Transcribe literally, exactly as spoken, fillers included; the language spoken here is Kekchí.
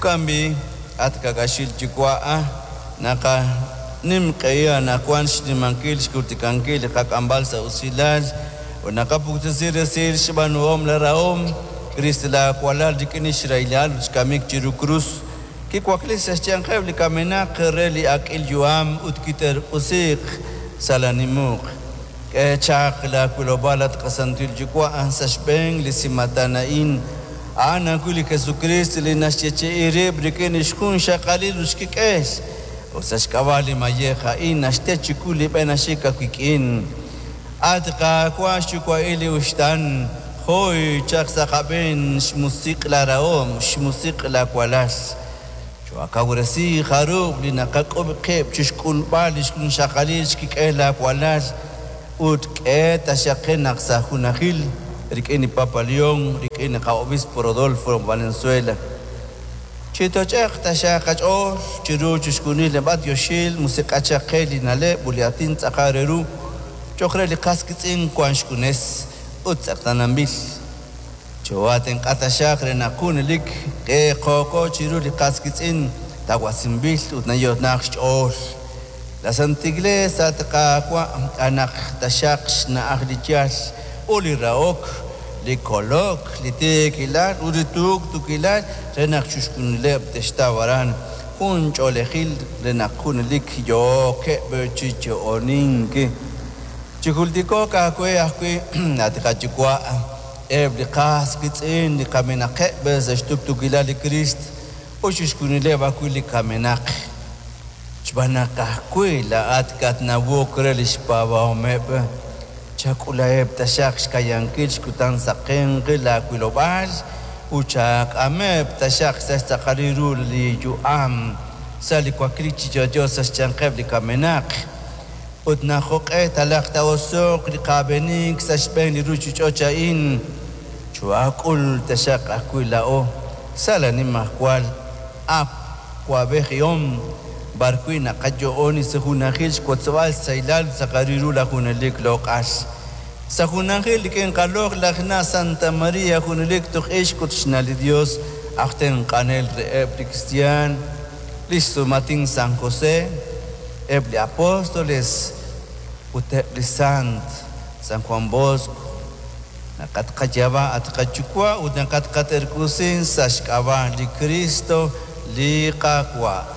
Jo'kan b'i', at qak'axil yuwa', naqanimq'ehi anaqwan xnimankil xkutikankil li qak'amb'al sa' usilal ut naqapuktesi resil xb'aanuhom la rahom Kristo laawalal rik'in xrahilal ut xkamik chiru krus kiwakli sa' xyanqeb' li kamenaq re li ak'il yu'am ut kiterq'usiiq sa' la nimuq. K'e chaq laawilob'aal at qasantil yuwa' sa' xb'een li simatan a'in a'an ajwi' li Jesucristo li naxyeechi'i rib' rik'in xjun xaqalil ut xkik'el ut sa' xk'ab'a' li mayej a'in naxte chiku li b'e naxik awik'in. At Qaawa' xyuwa'il li uxtan, hoy chaq sa' qab'een xmusiq' la rahom, xmusiq' laawalal. Choakawresi jarub' li naqak'ub' qib' chixk'ulb'al li xjunxaqalil xkik'el laawalal ut k'e taxaq qe naq sa' junajil rik'in li Papa León, rik'in li qa-obispo Rodolfo Valenzuela. Chitoch'eq taxaq qach'ool chiru chixjunil li b'atyoxil musiq'achaq qe li na'leb' ut li aatin tz'aqal re ru cho'q re li qas qiitz'in wank xjunes ut tz'eqtaananb'il. Choatenq'a taxaq re naq junelik qeeqooko chiru li qas qiitz'in tawasinb'il ut nayotnaq xch'ool. La Santa Iglesia at Qaawa' anaq taxaq xna'aj li yaal ut li rahok, li kolok, li tiikilal ut li tuqtuukilal re naq chixjunileb' te'xtaw aran jun ch'oolejil re naq junelik yookeb' chi yo'onink. Chijultiko'q aawe ajwi' at qayuwa' eb' li qas qiitz'in li kamenaqeb' sa' xtuqtuukilal li Kriist ut chixjunileb' ajwi' li kamenaq. Xb'aan naq ajwi' laa'at katnawok re li xpaab'ahomeb', chak'ulaheb' taxaq xkayankil xkutan saqenq laawilob'aal ut chak'ameb' taxaq sa' xtz'aqalil ru li yu'am sa' li wakliik chi yo'yo sa' xyanqeb' li kamenaq. Ut naq jo'q'e talaq taa'oso'q li qab'eenik sa' xb'een li ruuchich'och' a'in, choak'ul taxaq ajwi' laa'o sa' la nimajwal awa'b'ejihom b'arwi' naqayo'oni sa' junajil xwotzb'al xsahilal tz'aqalil ru la junelik loq'al. Sa' junajil rik'in qaloq laj na' Santa Maria junelik tuq'ixq ut xna' li Dios aj tenq'anel reheb' li kristiaan, li xsumatin San José, eb' li apóstoles ut eb' li sant San Juan Bosco. Naqatqayab'a at qayuwa' ut naqatqaterkusin sa' xk'ab'a' li Cristo li Qaawa'.